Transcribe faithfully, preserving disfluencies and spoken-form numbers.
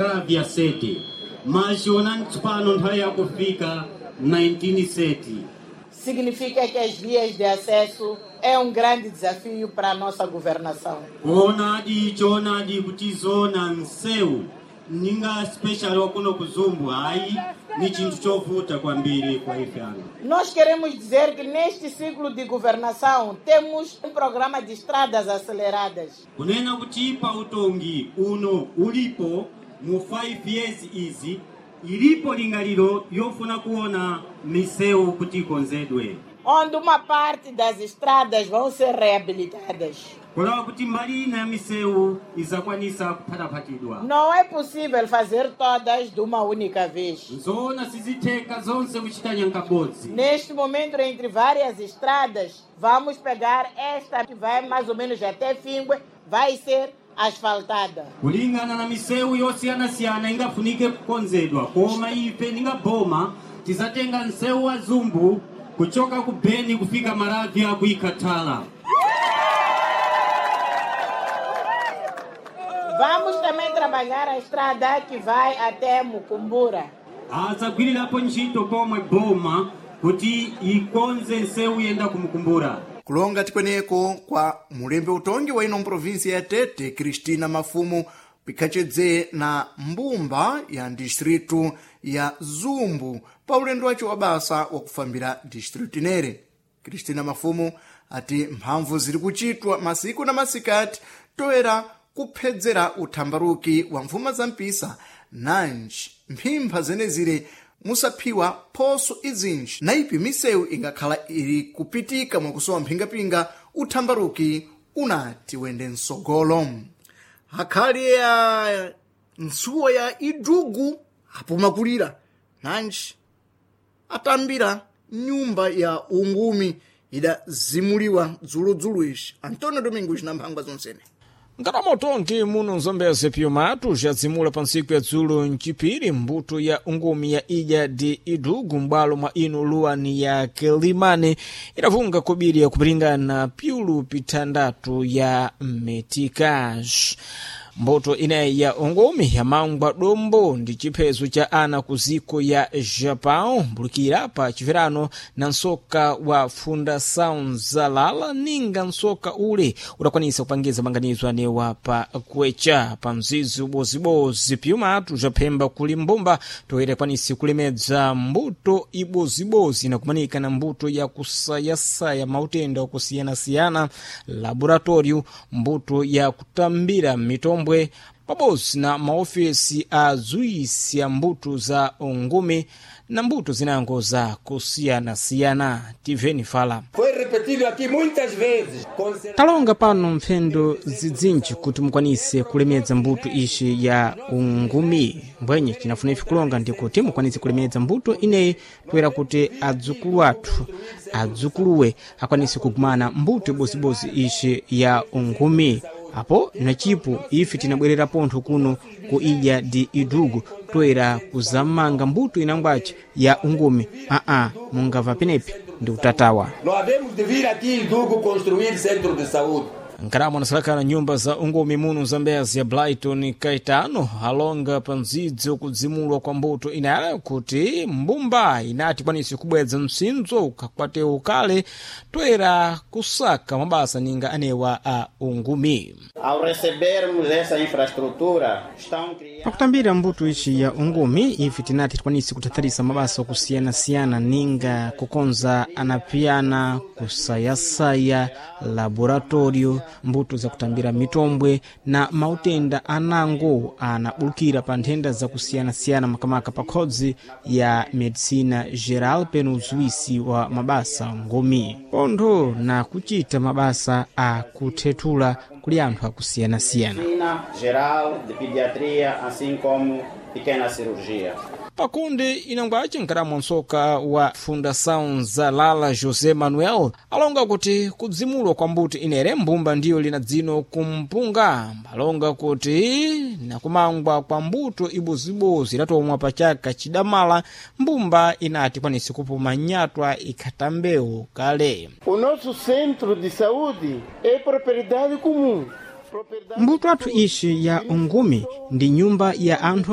Maravya sete mas tsopano nthawi yakufika nineteen thirty. Significa que as vias de acesso é um grande desafio para a nossa governação. Kuonadi choonadi kuti zona nsewu ninga special wakuno kuzumbu hayi ni chinthu chovuta kwambiri kwa ife ano. Nós queremos dizer que neste ciclo de governação temos um programa de estradas aceleradas. Kunena kuti pa utongi uno ulipo mu five years izi ilipo lingaliro yofuna kuona misewu kuti ikonzedwe, onde uma parte das estradas vão ser reabilitadas. Kulawa kuti mbali ina ya misewu izakwanisa kuphataphatidwa. Não é possível fazer todas de uma única vez. Nzoona sizitheka zonse kuchita nyankabodzi. Neste momento, entre várias estradas, vamos pegar esta que vai mais ou menos até Fíngue, vai ser asfaltada. Kulingana na misewu yosiyanasiyana ingafunike kukonzedwa, koma ife ningaboma tizatenga nsewu wa Zumbu kuchoka ku Beni kufika Maravya kuikatala. Vamos também trabalhar a estrada que vai até Mucumbura. Azagwirirapo ntchito pomwe boma kuti ikonze nsewu yenda kumukumbura. Kulonga tikweneko kwa mulembe utongi wa ino mprovinsi ya Tete, Cristina Mafumo, pikhacedze na mbumba ya distritu ya Zumbu pa ulendo wace wa basa wakufambira distritu inere. Cristina Mafumo ati mphamvu ziri kuchitwa masiku na masikati toera kuphedzera uthambaruki wa mfuma za mpisa nanji mphimpha zenezire musaphiwa phoso izinji na ipi misewu ingakhala ili kupitika mwakusowa mphingapinga uthambaruki unati wende msogolo. Akhali ya ntsuwa ya idugu apumakulira nanji atambira nyumba ya ungumi idazimuliwa dzuludzulu ici. Antonio Domingos na mphangwa zonsene. Nkatamotonki muno nzombeze pyomatu jadzimula pa ntsiku ya dzulo mcipiri mbuto ya ungumi ya ija di idugu m'bwalo mwa inu luwani ya Kilimani idavunga kobiri ya kupilingana pyulu pitandatu ya metikash. Mbuto ineyi ya ungumi yamangwa dombo ndi chiphezo cha ana ku ziko ya Japão mbulukira pa chipherano na nsoka wa Fundação Zalala ninga nsoka ule udakwanisa kupangiza manganizo anewa pa kwecha pa mzizi ubozibozi pyumatu japhemba kuli mbumba toera kwanisi kulemedza mbuto ibozibozi na kumanika na mbuto ya kusayasaya mautenda okusiyanasiyana laboratório mbuto ya kutambira mitombwe pabodzi na maofesi a zuisi ya mbuto za ungumi na mbuto zinango za kusiyanasiyana. Tiveni fala. Foi repetido aqui muitas vezes. Talonga pano mphendo zidzinji kuti mukwanise kulemedza mbuto ici ya ungumi mbwenye cinafuna ife kulonga ndikuti mukwanise kulemedza mbuto ineyi toera kuti adzukulu athu adzukuluwe akwanise kugumana mbuto ibozibozi ici ya ungumi. Apo nacipo ife tinabwerera pontho kuno ku ilha de Idugu toera kuzamanga mbuto inangwace ya ungumi. Aa, mungava penepi ndi utatawa. Não havemos de vir aqui Idugo construir centro de saúde. Nkaramo anasalakana nyumba za ungumi muno Zambezi ya Brighton Caetano alonga pa mzidzo kudzimulwa kwa mbuto inayala kuti mbumba inati kwanise kubwedza msinzo ukakwate ukale toera kusaka mabasa ninga anewa a ungumi. Ao recebermos essa infraestrutura, estão criando Pakutambira mbuto ici ya ungumi ife tinati tikwanise kuthatharisa mabasa okusiyana-siyana ninga kukonza anapiyana kusayasaya laboratório mbuto zakutambira mitombwe na mautenda anango anabulukira pa nthenda zakusiyana-siyana makamaka pa khodzi ya medicina geral peno uzuwisi wa mabasa ngumi pontho na kuchita mabasa a kuthethula kuli anthu akusiyana-siyana. medicina geral, de pediatria, assim como pequena cirurgia. Pakundi inangwace nkaramo nsoka wa Fundação Zalala José Manuel alonga kuti kudzimulwa kwa mbuto inere mbumba ndiyo lina dzino kumpunga alonga kuti nakumangwa kwa mbuto ibozibozi idatomwa pa chaka chidamala mbumba inati kwanise kupuma nyatwa ikhatambewu kale. O nosso centro de saúde é propriedade comum. Mbuto athu ixi ya ungumi ndi nyumba ya anthu.